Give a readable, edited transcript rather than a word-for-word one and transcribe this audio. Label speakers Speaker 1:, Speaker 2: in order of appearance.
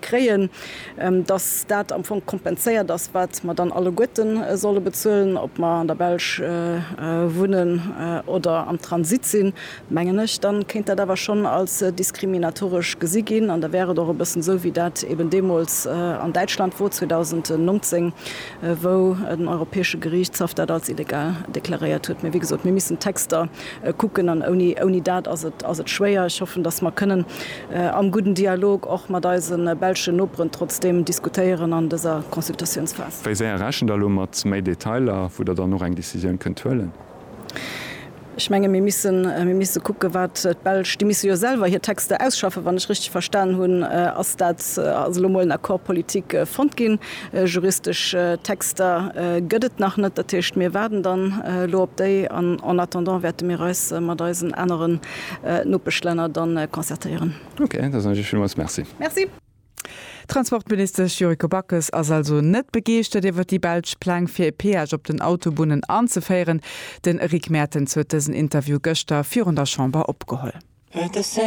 Speaker 1: Kréien, dass dat am Fong kompenséiert ass, wat mer dann alleguerte solle bezuelen, ob mer an der Belsch wunnen oder am Transit sinn, mengen ech, da kéint dat awer schonn als diskriminatoresch gesi ginn. An da wär et och e bëssen esou, wéi dat eben deemools an Däitschland wor 2019, wou den Europäesche Geriichtshaff dat als illegal deklaréiert huet. Mee wéi gesot, mir missen d'Texter kucken an ouni, ouni dat ass et, ass et schwéier. Ech hoffen, dass mer kënnen am gudden Dialog och mat eise belschen Noperen trotzdeem diskutéieren an dëser Consultatiounsphas.
Speaker 2: Wéi séier rechent Der elo mat méi Detailer, wou Der dann och eng Decisioun kënnt huelen?
Speaker 1: Ech menge mir missen, mir misse kucke wat d'Belsch, déi misse jo selwer hir Texter ausschaffen, wann ech richteg verstan hunn, ass dat, ass elo mol en Accord politique fonnt ginn. Juristesch Texter gëtt et nach net, dat heescht mir waarden dann elo op déi an en attendant wäerte mir eis mat eisen aneren Nopeschlänner dann concertéieren.
Speaker 2: Ok, da soen ech Iech villmools Merci.
Speaker 1: Merci.
Speaker 3: D'Transportministesch Yuriko Backes ass also net begeeschtert iwwer déi belsch Pläng fir e Peage op den Autobunnen anzeféieren. Den Rick Mertens huet dësen Interview gëschter virun der Chamber opgeholl.